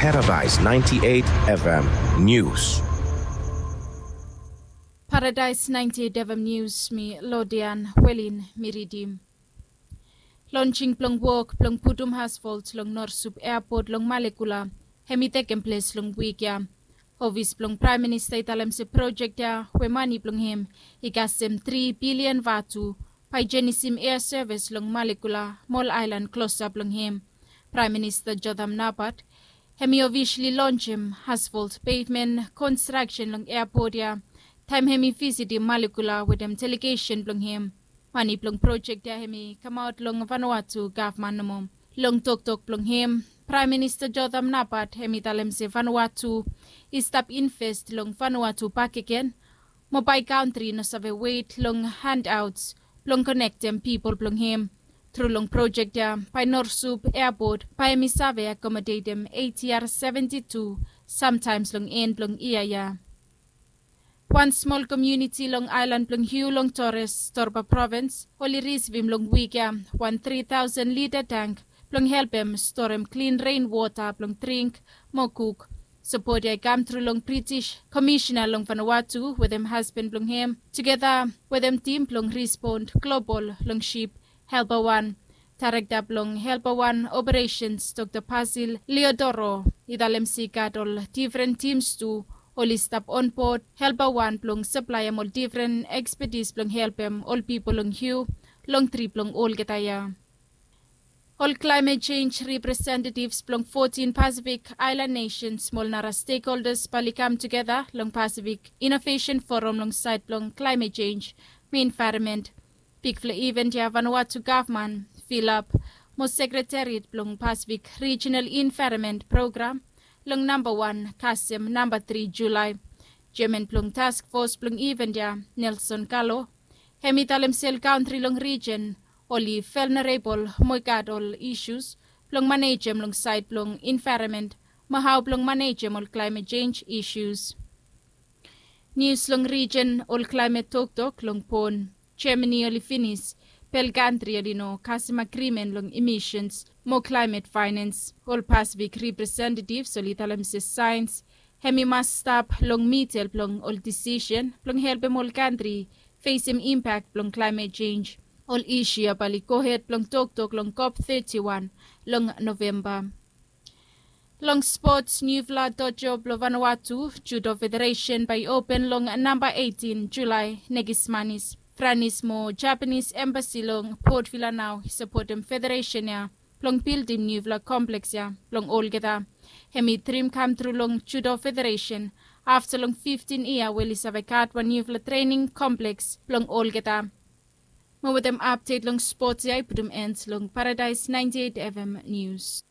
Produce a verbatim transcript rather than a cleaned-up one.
Paradise ninety-eight F M News. Paradise ninety-eight F M News, mi Lodian Welin mi ridim. Lonjing blong wok blong putum asfalt long Norsup Airport long Malekula hem i tekem ples long wik ya. Ofis blong Praem Minista i talem se projek ya we mane blong hem i kasem tri bilian vatu bae i jenisim ea sevis long Malekula mo ol aelan klosap long hem. Praem Minista Jotham Napat hem i ofisali lonjem asfalt pevmen konstraksen long eapot ya taem hem i visitim Malekula wetem delegesen blong hem. Mane blong projek ya hem i kamaot long Vanuatu gavman nomo. Long toktok blong hem, Praem Minista Jotham Napat hem i talem se Vanuatu i stap invest long Vanuatu bakegen mo bae kantri i no save wet long handaots blong konektem pipol blong hem. Tru long projek ya bae Norsup Airport bae hem i save akomodetem ATR seventi tu samtaems long en blong yia ya. Wan smol komuniti long aelan blong Hiu long Torres, Torba provins, oli risivim long wik ya wan tri taosen lita tank blong helpem storem klin ren wota blong dring mo kuk. Sapot ya i kamtru long British komisena long Vanuatu wetem hasban blong hem tugeta wetem tim blong rispon global long sip Helper One. Daerekta blong Helper One Operesens, Dokta Basil Leodoro, i talem se i gat ol difren tims tu oli stap onbod Helper One blong saplaem ol difren ekspetis blong helpem ol pipol long Hiu long trip blong olgeta ya. Ol klaemet jenj representetivs blong fotin Pasifik aelan nesens mo ol nara stekholdas bae oli kam tugeta long Pasifik Inovesen Foram long saed blong klaemet jenj mo envaeronmen. Bigfala iven ya Vanuatu gavman, Filap, mo sekretariat blong Pasifik Rijenal Envaeronmen Program long namba wan kasem namba tri Julae. Jeaman blong taskfos blong iven ya, Nelson Kalo, hem i talem se ol kantri long rijen oli velnerabol mo i gat ol isus blong manejem long saed blong envaeronmen mo hao blong manejem ol klaemet jenj isus. Nius long rijen, ol klaemet toktok long pon. Jemani oli finis bel kantri oli no kasem agrimen long imisens mo klaemet faenens. Ol Pasifik representetivs oli talem se saens hem i mas stap long midel blong ol disisen blong helpem ol kantri fesem impak blong klaemet jenj. Ol isu ya bae oli gohed blong toktok long COP thirty-one long Novemba. Long spots, niufala dojo blong Vanuatu Judo Federesen bae i open long namba eighteen Julae, nekis manis. Franis mo Japanis embasi long Port Vila nao i sapotem federesen ya blong bildim niufala kompleks ya blong olgeta. Hem i drim kamtru long Judo Federesen afta long fiftin yia we oli save gat wan niufala trening kompleks blong olgeta. Mo wetem apdet long spots ya i putum en long Paradise ninety-eight F M News.